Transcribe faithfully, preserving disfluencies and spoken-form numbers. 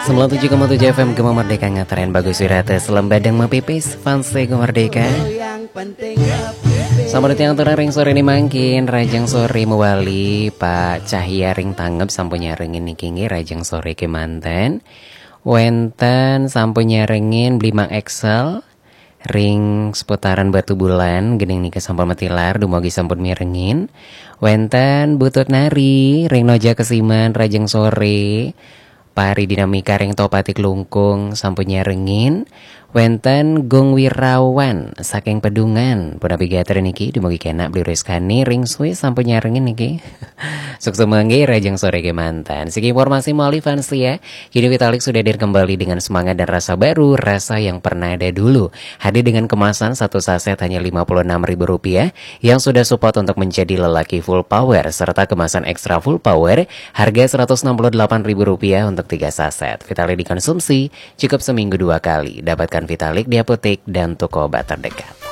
Sembilan tujuh koma tujuh F M Gema Merdeka, ngetren bagus wirata, selem badeng mapipis, fans Gema Merdeka. Selamat datang turun ring sore ini mangkin, rajang sore mewali, Pak Cahya ring tanggep sampun nyarengin niki nggih, rajang sore kemanten. Wenten sampun nyarengin Bli Mang Excel, ring seputaran Batu Bulan, gening nika sampun matilar, dumugi sampun mirengin. Wenten Butut Nari, ring Noja Kesiman, rajang sore. Pari Dinamika ring Topatik Lungkung sampun nyarengin. Wenten Gung Wirawan saking Pedungan, punapi gatra niki, dumugi kenak Bli Rizkani ring Swiss sampun nyarengin niki. Sukses manggi rajang sore kemanten. Siki informasi mawali fans ya. Kini Vitalik sudah hadir kembali dengan semangat dan rasa baru, rasa yang pernah ada dulu. Hadir dengan kemasan satu saset hanya lima puluh enam ribu rupiah yang sudah support untuk menjadi lelaki full power, serta kemasan ekstra full power harga seratus enam puluh delapan ribu rupiah untuk tiga saset. Vitalik dikonsumsi cukup seminggu dua kali. Dapatkan Vitalik di apotek dan toko obat terdekat.